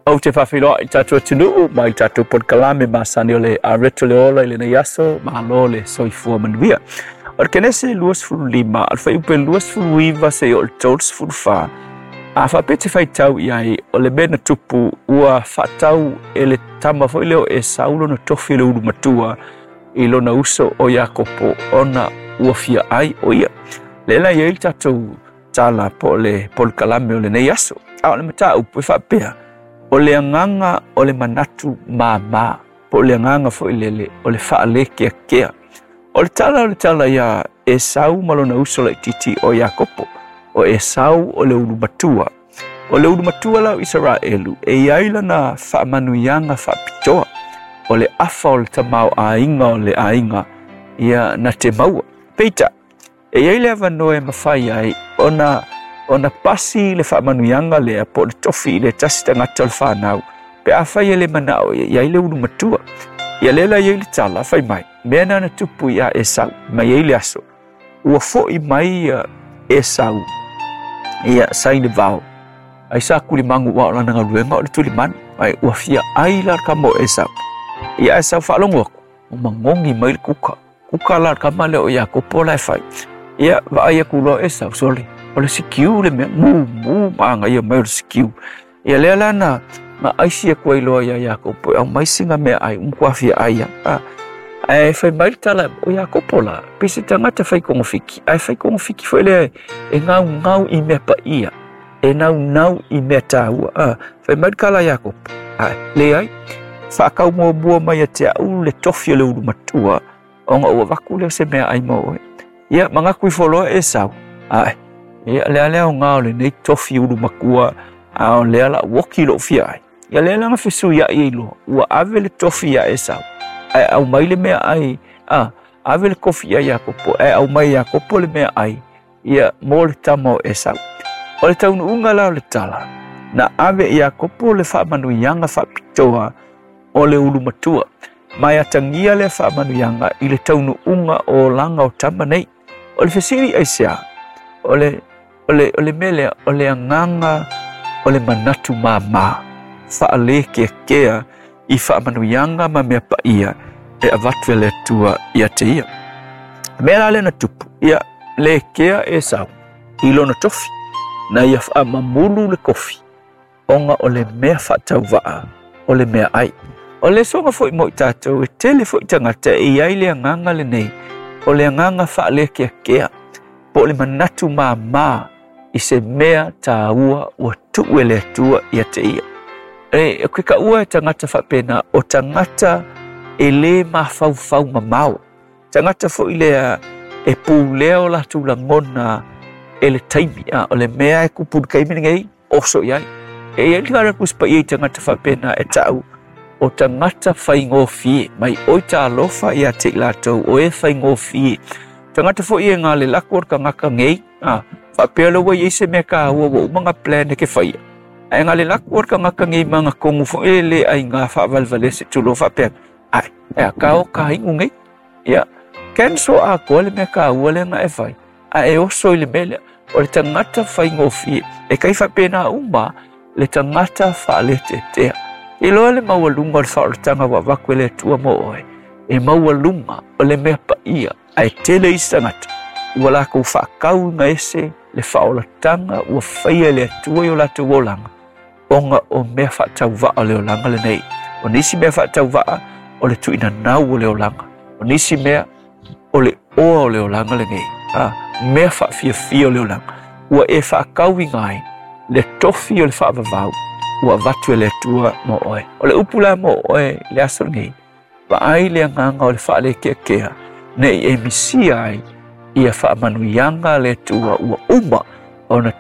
Ou te faafeiloai i le tatou atunuu ma i le tatou polokalame masani o le Areto le Ola i lenei aso, malo le soifua manuia. O le Kenese 25, o le fuaiupu e 29 seia oo i le 34, a faapea e te faitau i ai, o le mea na tupu ua faatau e le tama foi lea o Esau lona tofi o le ulu matua i lona uso o Iakopo ona ua fia ai o ia. Lea la e i ai le tatou tala po o le polokalame o lenei aso. A o le mataupu e faapea, o le agaga o le manatu māmā, po o le agaga foi lele o le faalēkeakea. O le tala o le tala iā Esau ma lona uso laitiiti o Iakopo. O Esau o le ulu matua. O le ulu matua la o Isaraelu, e i ai lana faamanuiaga faapitoa, o le afa o le tamaoaiga o le aiga ia na te maua. Peitai, E i ai le avanoa e mafai ai ona ona pasi le faamanuiaga lea po o le tofi i le tasi tagata o le fanau pe afai e le manao i ai le ulu matua. Ia lea la i ai le tala fai mai, mea na na tupu iā Esau mai ai le aso ua foʻi mai Esau ia sa i le vao ai sa tulimagu ua o lana galuega o le tulimanu ai ua fia ai la le kama o Esau. Ia Esau faalogo atu ua magogi mai le kuka. Kuka la le kama lea o Iakopo la e fai. Ia, vaai atu loa Esau, sole, o le sikiu le mea, mumu ma agaia mai o le sikiu. Ia lea la na, na aisi atu ai loa ia Iakopo e aumai sina meaai, ua matua fia ai lava. A, ae fai mai le tala, o Iakopo la, pei se tagata fai togafiti, ae fai togafiti foi lea e naunau i mea paia, e naunau i mea taua. A, fai mai le tala a Iakopo, a, leai, faatau muamua mai ia te au le tofi o le ulu matua, ona ou avatu lea o se meaai mo oe. Ia, manatu ifo loa Esau, ae, ia, o le a le aoga o lenei tofi ulu matua, a o lea la uoki lou fia ai. Ia lea la na fesuiai ai loa, ua ave le tofi iā Esau, ae aumai le meaai, a, ave le tofi iā Iakopo, ae aumai e Iakopo le meaai, ia, mo le tama o Esau. O le taunuuga la o le tala, na ave e Iakopo le faamanuiaga faapitoa o le ulu matua, ma e atagia lea faamanuiaga i le taunuuga o olaga o tama nei. O le fesili aisea? O le, o le, o le mea lea, o le agaga o le manatu māmā, faalēkeakea i faamanuiaga ma mea paia e avatu e le Atua ia te ia. Mea la lea na tupu, ia lē kea Esau i lona tofi, na ia faamamulu le kofi, ona o le mea faatauvaa o le meaai. O le soga foi mo i tatou, e tele foi tagata e i ai le agaga lenei, o le agaga faalēkeakea, po o le manatu māmā i se mea tāua ua tuu e le Atua ia te ia. E, o ke kaua e tagata faapena, o tagata e lē mafaufau mamao. Tagata foi lea e pulea o latou lagona e le taimi, a o le mea e kupu i le taimi lenei, oso i ai. E i ai le Tusi Paia i tagata faapena e ta'u o tagata faigofie, mai oi talofa ia te i latou o e faigofie. Tagata foi e gale lako o le tagata nei, a, faapea loa ua i ai se mea kāua ua uma ona plan e ke faia. Ae gale lako o le tagata nei ma ana kogu foi e le aiga faavalevalea se tulou faapea, ai, e a ka o ka inu nei. Ia, cancel atoa le mea kāua lea na e fai, a e oso i le mea lea. O le tagata faigofie, e kai faapena uma le tagata faaletetea. I loa le maualuga o le faaolataga ua avatu e le Atua mo oe, e maualuga o le mea paia, ae tele isi tagata ua latou faatauina ese le faaolataga ua faia e le Atua i o latou olaga, ona o mea faatauvaa o le olaga lenei. O nisi mea faatauvaa o le tuuinanau o le olaga. O nisi mea o le oa o le olaga lenei. A, mea faafiafia o le olaga. Ua e faatauina ai le tofi o le faavavau ua avatu e le Atua mo oe. O le upu la mo oe i le aso lenei, vaai le agaga o le faalekeakea ne i e misia ai ia faamanuiaga a le Atua ua uma ona